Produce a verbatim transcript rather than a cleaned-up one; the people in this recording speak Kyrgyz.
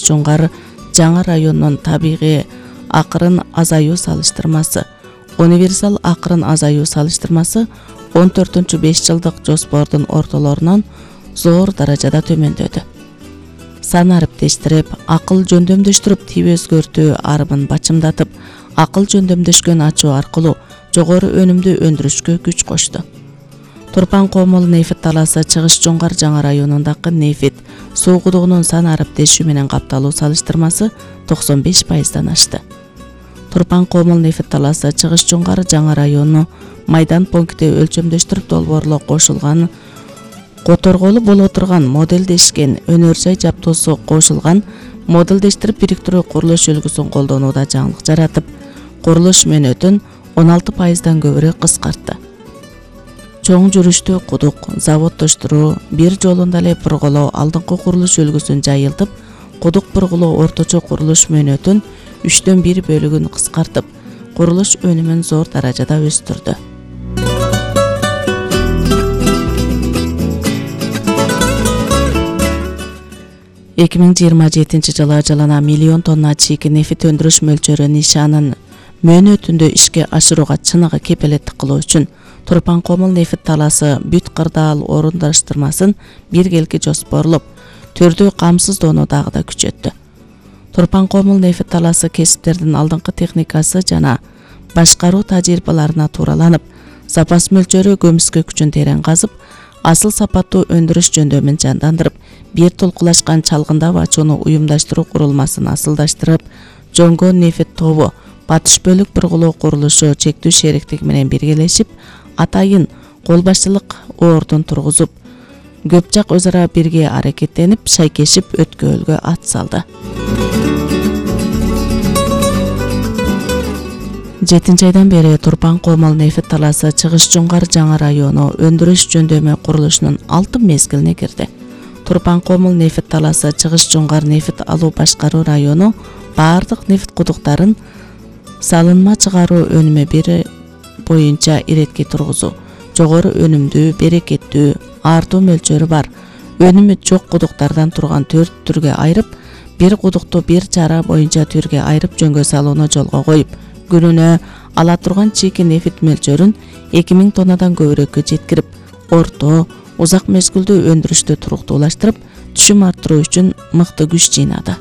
Чыгыш-Жоңгар жаңы районунун табигый акырын азаюу салыштырмасы, универсал акырын азаюу салыштырмасы он төртүнчү беш жылдык жоспордун ортолорунан зор даражада төмөндөдү. Сан ариптештирип, акыл жөндөмдөштүрүп, тип өзгөртүү арымын бачымдатып, акыл жөндөмдөшкөн ачуу аркылуу жогору өнүмдүү өндүрүшкө күч кошту. Турпан Комол нефит талаасы Чыгыш-Жоңгар жаңы районундагы нефит суу кудугунун сан ариптешүү менен капталуу салыштырмасы токсон беш пайыздан ашты. Турпан Комол нефит талаасы Чыгыш-Жоңгар жаңы району майдан пункти өлчөмдөштүрүп долбоорлоо кошулган, которголу боло турган моделдешкен өнөр жай жабдоосу кошулган моделдештирип бириктирүү курулуш үлгүсүн колдонууда жаңылык жаратып, курулуш мөөнөтүн он алты пайыздан көбүрөөк кыскартты. Чоң жүрүштүү кудук заводдоштуруу бир жолунда эле бурголоо алдыңкы курулуш үлгүсүн жайылтып, кудук бурголоо орточо курулуш мөөнөтүн үчтөн бир бөлүгүн кыскартып, курулуш өнүмүн зор даражада өстүрдү. эки миң жыйырма жетинчи жылы жылына миллион тонна чийки нефит өндүрүш мөлчөрү нишанын мөөнөтүндө ишке ашырууга чыныгы кепилеттик кылуу үчүн Турпан Комол нефит талаасы бүт кырдаал орундаштырмасын биргелки жоспорлоп, төрдүү камсыздоону дагы да күчөттү. Турпан Комол нефит талаасы кесиптердин алдыңкы техникасы жана башкаруу тажрыйбаларына туураланып, запас мөлчөрү көмүскө күчүн терең казып, асыл сапаттуу өндүрүш жөндөмүн жандандырып, бир толкулашкан чалгындап ачууну уюмдаштыруу курулмасын асылдаштырып, Жоңго нефит тобу батыш бөлүк бурголоо курулушу чектүү шериктиги менен биргелешип, атайын кол башчылык ордун тургузуп, көп жак өз ара бирге аракеттенип, шайкешип өткөөлгө ат салды. жетинчи айдан бери Турпан Комол нефит талаасы Чыгыш-Жоңгар жаңы району өндүрүш жөндөмү курулушунун алтын мезгилине кирди. Турпан Комол нефит талаасы Чыгыш-Жоңгар нефит алуу башкаруу району баардык нефит кудуктарын салынма чыгаруу өнүмү бир боюнча иретке тургузуу, жогору өнүмдүү, берекеттүү, артуу мөлчөрү бар, өнүмү жок кудуктардан турган төрт түргө айырып, бир кудукту бир чара боюнча түргө айырып жөнгө салууну жолго коюп, күнүнө ала турган чийки нефит мөлчөрүн эки миң тоннадан көбүрөөккө жеткирип, орто, узак мезгилдүү өндүрүштү туруктуулаштырып, түшүм арттыруу үчүн мыкты күч жыйнады.